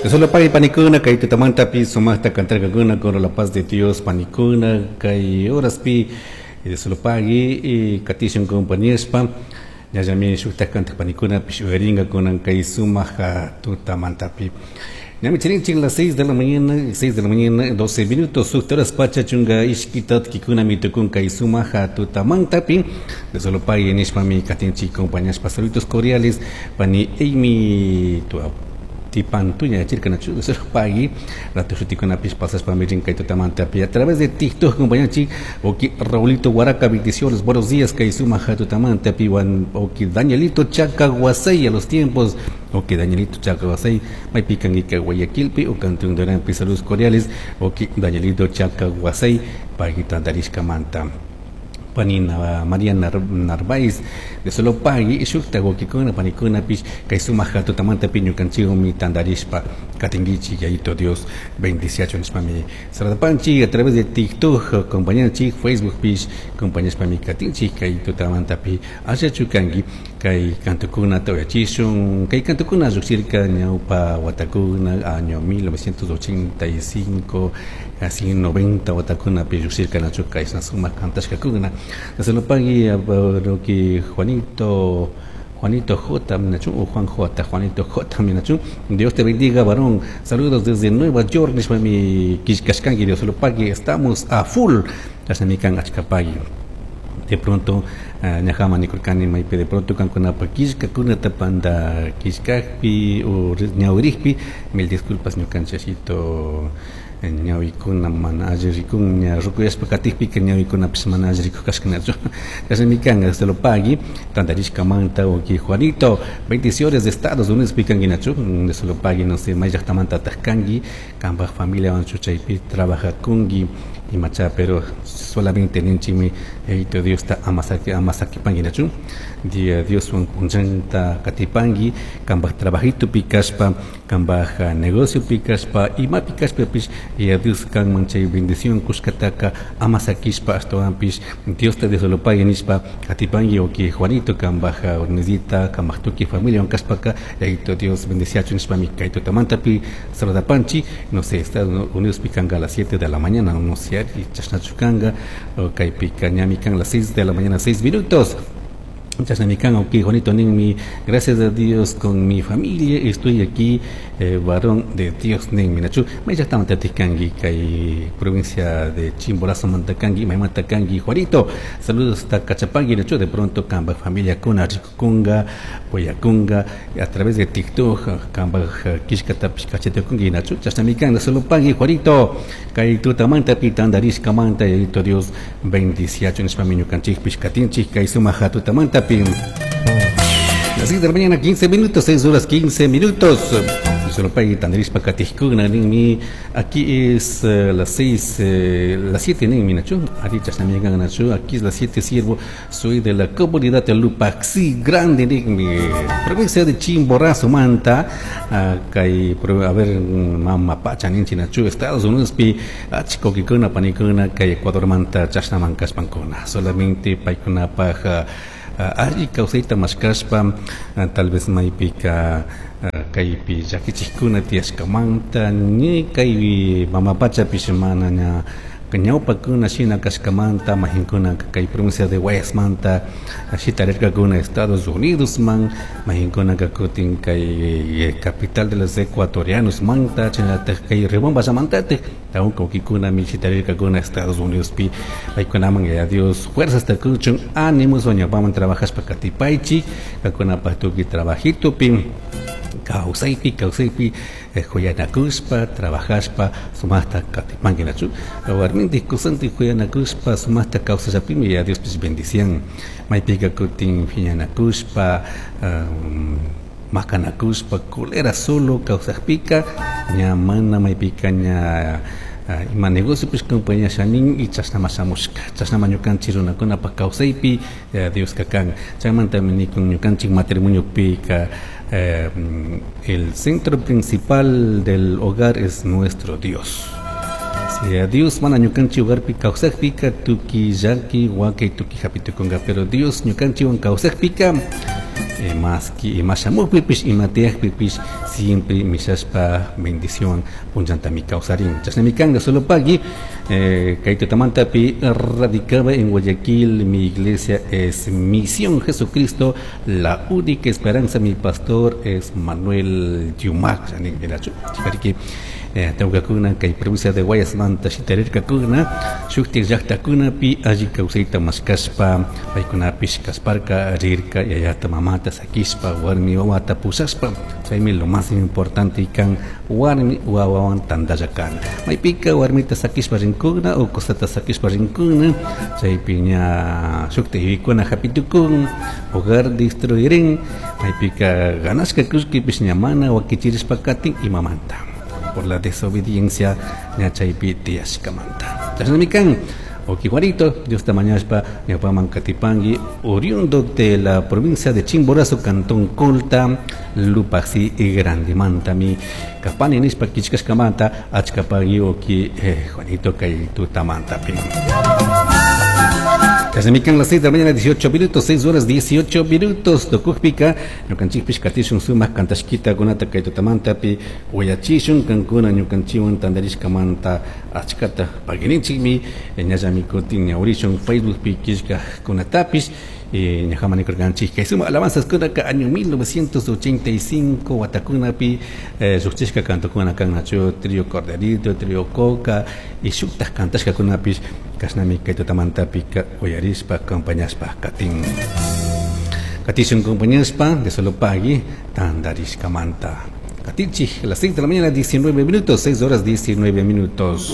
Solo pay panikuna kay tutamantapi sumaqta cantarkakuna con la paz de Dios panikuna kay horaspi solo pagui y katishun compañespa ñallami shukta cantaq panikunapish uyarinkakuna kay sumaq tutamantapi. Ñami chirinchik las 6 de la mañana, 6 de la mañana, 12 minutos, sukta horas pacha chunga ishki tatkikuna tukun kay sumaq tutamantapi. De solo pagui nishpami katinchik compañaspa saludos cordiales pani Amy tu tipantuña chirkanachu solo pagui rato shutikunapish pasashpa mirin kay tutamantapi a través de TikTok compañanchik oki Raulito Guaraca bendiciones buenos días kay sumaq tutamantapi wan oki Danielito Chaca Guasay a los tiempos oki Danielito Chaca Guasay maypi kanki Guayaquilpi o cantón Duranpi saludos cordiales oki Danielito Chaca Guasay pagui tantarishkamanta panina María Narváez de solo pagui shukta wakikuna panikuna pish kay sumaq tutamantapi ñukanchikmi tantarishpa katinkichik Yayito Dios bendiciacho nishpami saladapanchik a través de TikTok compañanchik Facebook pish compañashpami katinchik kay tutamantapi ashachu kanki kay kantukunata uyachishun kay kantukuna lluqshirka ñawpa watakuna año 1985 así 90 watakunapi lluqshirka nachu kay sumaq kantashkakuna. Solo pagui que Juanito Juanito J, minachu, o Juan J, Juanito J, minachu. Dios te bendiga, varón. Saludos desde Nueva York, nishpami kishkashkanki, Dios lo pague. Estamos a full. Chashnamikan achkapagui. De pronto, ñajama nikurkani maypi de pronto kankunapa killkakunata panda killkakpi o ñawirikpi, mil disculpas ñukanchashito ñawikuna mana alli rikun ña rukuyashpa katikpika ñawikunapish mana alli rikuk kashkanachu. Chashnami kan se lo pagui tantarishkamanta o ki Juanito bendiciones de Estados Unidos pikanki nachu de solo pagui no sé may llaqtamantataq kanki kanpaj familiawan chaypi trabajakunki imacha pero solamente ninchikmi Yayito Diosta amasaki amasakipanki nachu dia Dioswan punchanta katipanki kanpaj trabajitupi kashpa kanpaj negociopi kashpa imapi kashpapish ya Dios kanman chay bendición kushkataka amasakishpa ashtawanpish Diosta Dios lo pague nishpa katipanki o ki Juanito kanpaj Ornezita kanpaj tukuy familiawan kashpaka Yayito Dios bendiciachu nishpami kay tutamantapi saludapanchik no sé Estados Unidos pi kanka a las 7 de la mañana no sé chashnachu kanka kaypika ñami kan las 6 de la mañana 6 minutos. Chashnami kan, ok, Juanito ninmi, gracias a Dios con mi familia estoy aquí, varón de Dios ninmi, nachu, may llaqtamanta kanki kay provincia de Chimborazo mantakanki, maymanta kanki, Juanito, saludos hasta Cachapangui, nachu, de pronto kanpaj familia kuna rikukunga, poyakunga, a través de TikTok, kanpaj killkatapish kachatukunki, nachu, chashnami kan, solo pagui, Juanito, kay tutamantapi tantarishkamanta, Yayito Dios bendiciachu nishpami ñukanchikpish katinchik kay sumaq tutamantapi. Las 6 de la mañana, 15 minutos, 6 horas 15 minutos. Solo pagui tantarishpa katijkuna ninmi, aquí es las 6, las 7 ninmi, nachu, ari chashnami kan, nachu, aquí es las 7, siervo, soy de la comunidad de Lupaxi Grande ninmi, provincia de Chimborazo, Manta, kay, a ver, mama pacha ninchi, nachu, Estados Unidos pi, achka kikuna, panikuna, kay Ecuador manta, chashnaman kashpankuna, solamente paykunapaj alli kawsayta mashkashpa, tal vez maypika kaypi llakichikkuna tiyashkamanta, ni kay mama pachapish mana ña ñawpakuna shina kashkamanta, majinkuna kay provincia de Guayasmanta shitarirkakuna Estados Unidos man, majinkuna kutin kay capital de los ecuatorianos manta, chinataj kay Riobamballamantataj, tawka wakikunami shitarirkakuna Estados Unidos pi, paykunaman ya Dios fuerzas takuchun, ánimos ñawpaman trabajashpa katipaychik, kakunapaj tukuy trabajitupi, kawsaypi, kawsaypi, huyanakushpa, trabajashpa, sumaqta katipanki nachu, warmintik kusantik huyanakushpa, sumaqta kawsashapimi ya Diospish bendician, maypika kutin phiñanakushpa, makanakushpa, culera solo kawsakpika, ña mana maypika ña ima negocio pues compañía shanin y chashnama shamushka, chashnama ñukanchik runakunapaj kawsaypi, Dioska kan, chaymantami nikun ñukanchik matrimoniopika, el centro principal del hogar es nuestro Dios. Si a Dios mana ñukanchik hogarpi kawsakpika, tuki llaki, wakay tuki hapitukunga, pero Dios ñukanchikwan kawsakpika, Maski ima shamukpipish, ima tiyakpipish siempre mishashpa bendición punllantami kawsarin. Chashnami kan solo pagui kay tutamantapi radicaba en Guayaquil, mi iglesia es Misión Jesucristo, la única esperanza, mi pastor es Manuel Yumac. Mirachu, chikariki tawkakuna kay provincia de Guayasmanta shitarirkakuna shuktik llaqtakunapi alli kawsayta mashkashpa paykunapish kasparka rirka yayata mamata sakishpa warmi wawata pushashpa. Chaymi lo más importante kan warmi wawawan tantalla kana. Maypika warmita sakishpa rinkuna o kusata sakishpa rinkuna chaypi ña shuktik yuyaykuna hapitukun hogar destruirin maypika ganashka kullkipish ña mana wakichirishpa katin imamanta por la desobediencia ña chaypi tiyashkamanta. Chashnami kan Oki Juanito, Dios ta mañashpa ñawpaman katipangi, oriundo de la provincia de Chimborazo, Cantón Colta, Lupaxi y Grandimantami, kapani nishpa kichkashkamanta, achkapagui oki Juanito kay tutamantapi. Chashnami kan las 6 de la mañana, 18 minutos, 6 horas 18 minutos, tukukpika, ñukanchikpish katishun sumak kantashkita kunata kay tutamantapi, uyachishun kankuna ñukanchiwan tantarishkamanta achkata pagininchikmi, ñallami kutin ñawrishun Facebookpi killkakunatapish, ñajaman nikurkanchik kay sumak alabanzas kunaka año 1985 watakunapi lluqchishka kantukuna kan nachu trío Corderito, trío Coca y shuktaj kantashkakunapish kashnami kay tutamantapika uyarishpa acompañashpa katin. Katishun acompañashpa de solo pagui tantarishkamanta. Katinchik, las 6 de la mañana 19 minutos, 6 horas 19 minutos.